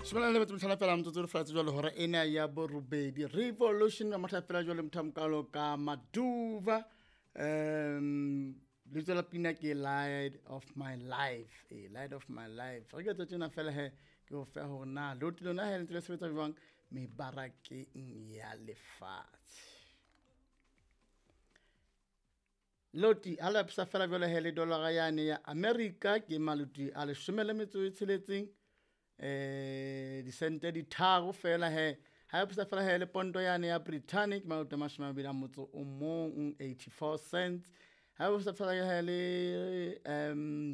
Shobana le batho fela mtsotso re fatshe jwale hora ena ya borobedi. Revolution ya motho fela jwale motho mokalo ka Maduva. Lebitso la pina ke Light of My Life. Eh, Light of My Life. Re ke tjena fela he ke o fa hore na loti lona he le ntse le sebetsa jwang mebarakeng ya lefatshe. Loti ha le bapisa fela jwale he le dollara yane ya America ke maloti a 16, disente di tharo fela he. Ha bapisa fela he le ponto yane ya Britannic maloti a 21, 84 cents. Ha bapisa fela he le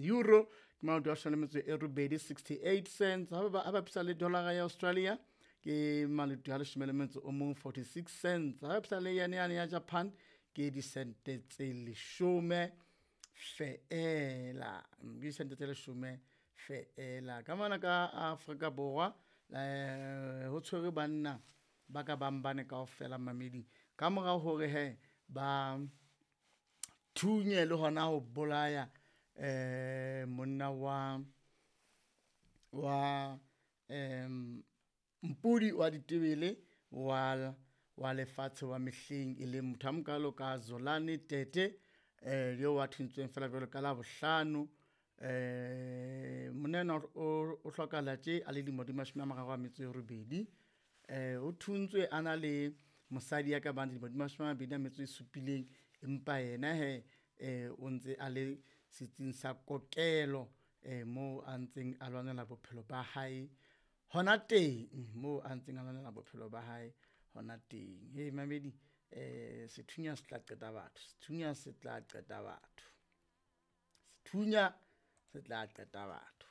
euro ke maloti a 18, 68 cents. Ha bapisa le dollara ya Australia ke maloti a 11, 46 cents. Ha bapisa le yane yane ya Japan ke disente tse 10 feela, disente tse 10 feela. Ka mona ka Afrika Borwa ho tshwerwe banna ba ka bang bane kaofela mamedi ka mora hore he ba thunye le hona ho bolaya monna wa mpudi wa ditebele wa lefatshe wa mehleng e leng motho a mokalo ka Zolani Tete, eo a thuntsweng fela jwalo ka Labohlano. Monna enwa o hlokahala tje a le dilemo di 38. O thuntswe a na le mosadi ya ka bang dilemo di 27, empa yena he o ntse a le setsing sa kokelo moo a ntseng a lwanela bophelo ba hae hona teng, moo a ntseng a lwanela bophelo ba hae hona teng. Hey mamedi, sethunya se tla qeta batho, sethunya se tla qeta batho, sethunya se tla qeta batho.